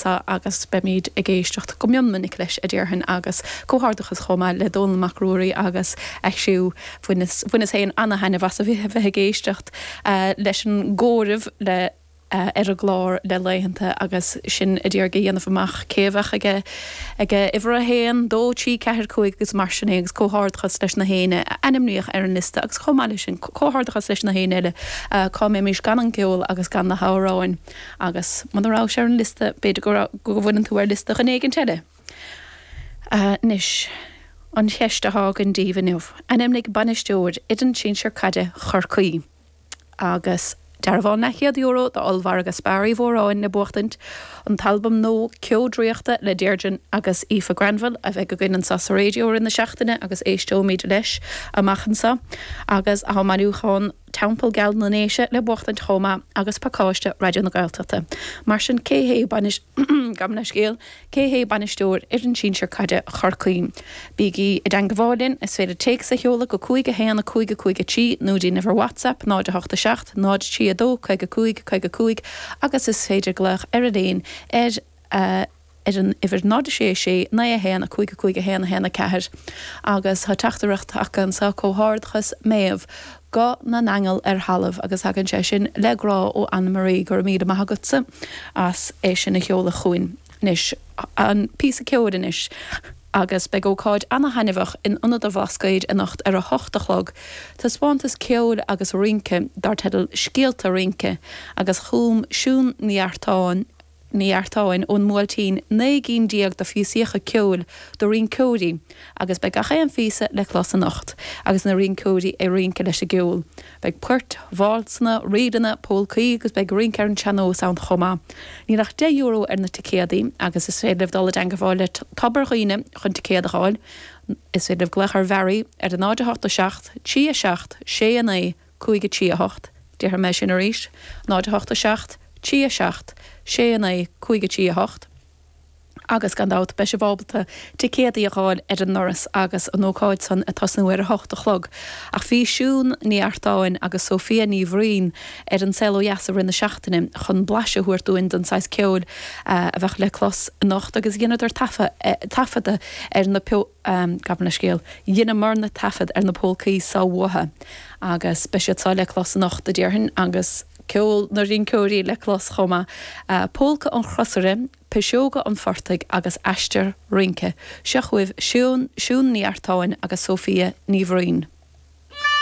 anso agus beimid ag éisteacht go mion minic leis, a déarfainn, agus comhghairdeachas chomh maith le Dónall Mac Ruairí agus a chriú. Bhaineas féin ana-thaitneamh as a bheith ag éisteacht leis an gcomhaireamh le. ar an gclár le laethanta agus sinn a d'iarraidh a dhéanamh amach cé a bheadh ag ag uimhir a haon, dó, trí, ceathair, cúig agus mar sin é agus comhghairdeachas leis na héinne a ainmníodh ar an liosta agus chomh maith leis sin comhghairdeachas leis na héinne eile cá mbeimis gan an ceol agus gan na hamhráin agus muna rabhais ar an liosta b'fhéidir go go bhfuileann tú ar liosta dhuine éigint eile. Anois an cheist atá againn daoibh inniu, ainmnigh bainisteoir fhoireann sinsir caide Chorcaí. Agus dearbhán leathchéad euro d'ollmhargadh Spar Uí Mhóráin le buachtaint, an t-albam nua Ceo Draíochta le Deirdre agus Aoife Granville a bheidh againn anseo sa raidió i rith na seachtaine agus éisteoimid leis amach anseo, agus tá bailiúchán Teampall Geal na nDéise le buachtaint chomh maith agus pacáiste Raidió na Gaeltachta. Mar sin cé hé bainis. Gabh mo leithscéal. Cé hé bainisteoir fhoireann sinsir caide Chorcaí? Bígí i dteangabháil linn, is féidir téacs a sheoladh go 5 1 5 5 3 nó dtí an uimhir WhatsApp 0 8 7 0 3 2 55 55 agus is féidir glaoch ar an líne ar ar an uimhir 0 6 6 9 1 5 5 1 1 4 agus tá teachtaireacht tagtha anseo Comhghairdeachas Méabh Guth na nAingeal ar thalamh agus tagann sé sin le grá ó Anna Marie, go raibh míle maith agatsa as é sin a sheoladh chugainn. Anois, an píosa ceoil anois agus beidh ócáid ana-thaitneamhach in Ionad an Bhlascaoid anocht ar a hocht a chlog, taispeántas ceoil agus rince dar teideal Scéalta Rince agus chum Siún Ní Eartáin, Ní Eartáin ón mBuailtín 19 gcinn de phíosaíocha ceoil do rinceoirí agus beidh gach aon phíosa le clos anocht agus na rinceoirí ag rince leis an gceol. Beidh poirt, válsanna, ríleanna, pólcaí agus beidh rince ar an tsean-nós ann chomh maith. Níl ach €10 ar na ticéadaí agus is féidir libh dul i dteangabháil le Tobar Dhuibhne chun ticéad a fháil. Is féidir libh glaoch ar Mhary ar 0 8 7 3 7 6 9 5 3 8, déarfaidh mé sin arís, 0 8 7 3 7 6 9 5 3 8, agus gan dabht beidh sibh ábalta ticéadaí a dh'fháil ar an ndoras agus an ócáid san ag tosnú ar a hocht a chlog. Ach bhí Siún Ní Eartáin agus Sophia Ní Bhraoin ar An Saol Ó Dheas i rith na seachtaine chun blaiseadh a thabhairt dúinn den saghas ceoil a bheadh le clos anocht agus dheineadar taifeadadh ar na gabh mo leithscéal, dheineamarna taifead ar na pólcaí so uathu agus beidh siad so le clos anocht, a déarfainn, agus ceol na rinceoirí le clos chomh maith. Pólca an Chrosaire, Piseoga an Phortaigh agus Aistear Rince. Seo chugaibh Siún, Siún Ní Eartáin agus Sophia Ní Bhraoin.